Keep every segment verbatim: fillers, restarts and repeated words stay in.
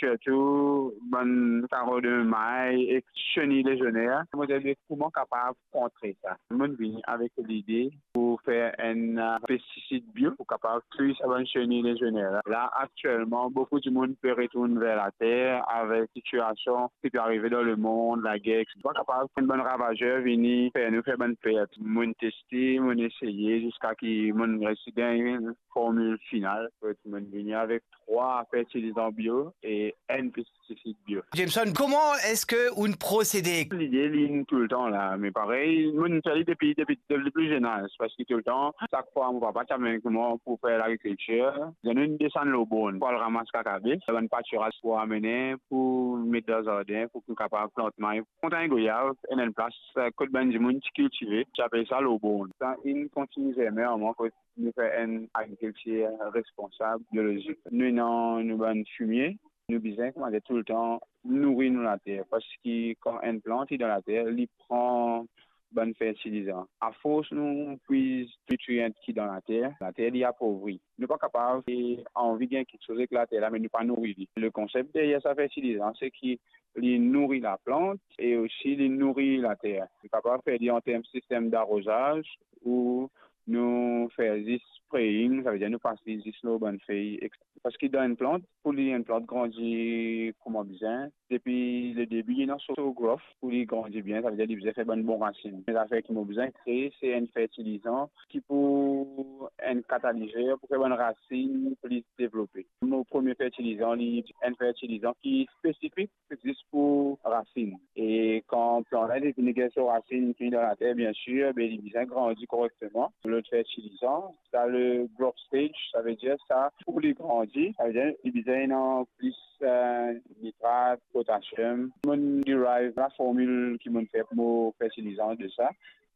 sirtou bann karo de may ek seni legioner. Mo dir, kouma kapav kontre sa? Mo'nn vini avek lide pou fer enn, eh, pestisid bio pou kapav touy sa bann seni legioner la. La, aktielman, boukou dimoun pe retourn ver later avek sitiasion ki pe arive dan lemond, lager, etsetera. Kapav enn bann ravazer vini fer nou fer bann pert. Mo'nn teste, mo'nn eseye ziska ki mo'nn resi gagn formil final. Kot mo'nn vini avek trwa fertilizan bio e enn pestisid bio. Jameson, kouma eski ou'nn prosede? Lide, li'nn toultan la, me parey, mo'nn fer li depi, depi, depi pli zenn az, parski toultan, sak fwa mo papa ti amenn mwa pou fer lagrikiltir, nou desann lor born pou al ramas kakabe, bann patiraz pou amene, pou met dan zardin, pou kapav plant may. Montagn Goyav, enn, enn plas, eh, kot bann dimoun ti kiltive, ti apel sa lor born. Sa inn kontign zermin an mwa, kot nou fer enn agrikiltir responsab, biolozik. Nou ena nou bann fimie, nou bizin, kouma dir, toultan nouri nou later, parski kan enn plant li dan later, li pran bann fertilizan. Afors nou pwiz nitrien ki dan later, later li apovri. Nou pa kapav, eh, anvi gagn kiksoz ek later la, me nou pa nouri li. Le konsep deryer sa fertilizan, se ki li nouri laplant e osi li nouri later. Nou kapav fer li an term sistem darozaz ou nou fer zis spraying, savedir nou pas li zis lor bann fey, ek-, parski dan enn plant, pou li enn plant grandi kouma bizin, depi le debi, li ena so, so growth, pou li grandi bien, savedir li bizin fer bann bon rasinn. Me zafer ki mo bizin kree, se enn fertilizan ki pou enn katalizer pou fer bann rasinn plis devlope. Mo premie fertilizan, li enn fertilizan ki spesifik zis pou rasinn. E kan plant la fini gagn so rasinn, fini dan later, biensir, be li bizin grandi korekteman. Lot fertilizan, sa le growth stage, savedir sa pou li grandi, savedir li bizin ena plis, eh, nitrat, potasiom. Mo'nn derive laformil ki mo'nn fer pou mo fertilizan de sa.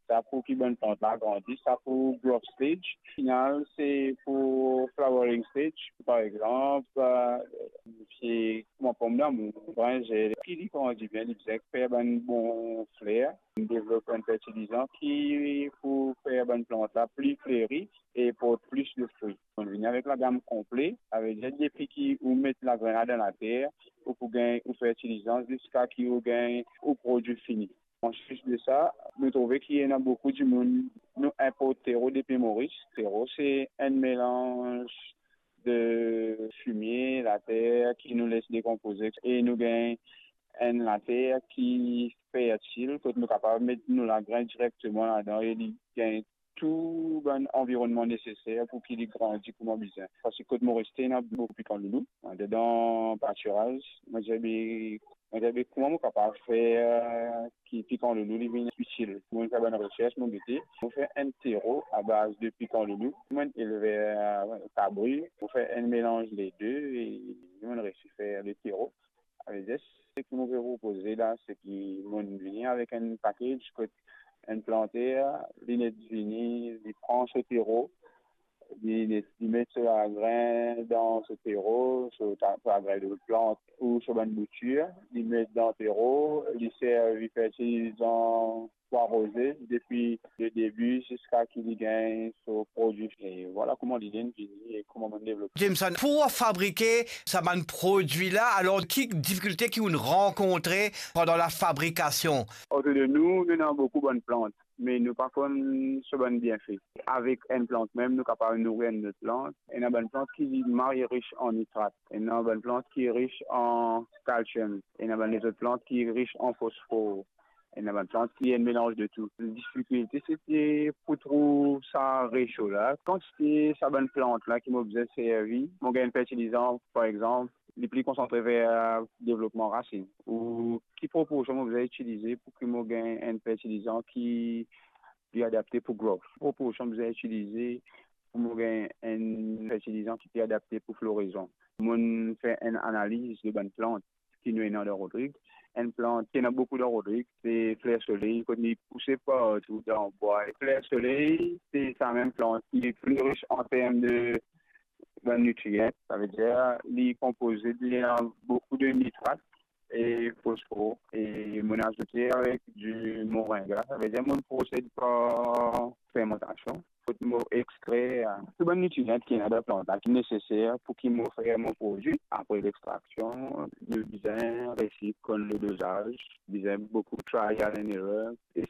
Sa pou ki bann plant la grandi, sa pou growth stage. Final, se pou flowering stage. Par exanp, eh, se kouma pomdamour, brinzel, ki li grandi bien, li bizin fer bann bon fler. Nou devlop enn fertilizan ki pou fer bann plant la pli fleri e port plis de fri. Mo'nn vini avek lagam konple, savedir depi ki ou met lagrenn la dan later, ou pou gagn ou fertilizan ziska ki ou gagn ou prodwi fini. Anplis de sa, nou trouve ki ena boukou dimoun, nou inport tero depi Moris. Tero se enn melanz de fimie, later ki nou les dekonpoze e nou gagn enn later ki fertil, kot nou kapav met nou lagrenn direkteman ladan e li gagn tou bann anvironnman neseser pou ki li grandi kouma bizin. Parski kot mo reste, ena boukou pikan loulou, andedan patiraz. Mo dir be, mo dir be, kouma mo kapav fer ki pikan loulou li vinn itil? Mo'nn fer bann resers, mo gete, mo fer enn tero abaz de pikan loulou. Mo'nn elver kabri, mo fer enn melanz le de e mo'nn resi fer le tero. Savedir, seki mo pe propoze la, se ki mo'nn vini avek enn package kot enn planter, li net vini, li pran so tero, li net, li met so lagrenn dan so tero, so ta-, so lagrenn de plant ou so bann boutir, li met dan tero, li servi fertilizan pou aroze depi le debi ziska ki li gagn so prodwi. E vwala kouma lide inn vini e kouma mo'nn devlope. Jameson, pou fabrike sa bann prodwi la, alor ki difikilte ki ou'nn rankontre pandan lafabrikasion? Otour de nou, nou ena boukou bann plant, me nou pa konn so bann bienfe. Avek enn plant mem, nou kapav nouri enn lot plant. Ena bann plant ki mal ris an nitrat, ena bann plant ki ris an kalsiom, ena bann lezot plant ki ris an fosfor, ena bann plant ki enn melanz de tou. Difikilte, se te pou trouv sa resio la. Kantite sa bann plant la ki mo bizin servi, mo gagn fertilizan, par exanp, li pli konsantre ver devlopman rasin, ou ki proporsion mo bizin itilize pou ki mo gagn enn fertilizan ki pli adapte pou growth, ki proporsion mo bizin itilize pou mo gagn enn fertilizan ki pli adapte pou florizon. Mo'nn fer enn analiz de bann plant ki nou ena dan Rodrig. Enn plant ki ena boukou dan Rodrig, se fler soley, kot li pouse partou dan bwa. Fler soley, se sa mem plant ki pli ris an term de bann nitrien, savedir li konpoze de boukou de nitrat e fosfor, e mo'nn azoute avek di moringa, savedir mo'nn prosed par fermantasion. kot mo extrer, euh, tou bann nitrian ki ena dan plant la, ki neseser pou ki mo fer mo prodwi. Apre lextraksion, nou bizin resi konn le dozaz, bizin boukou trial and error, e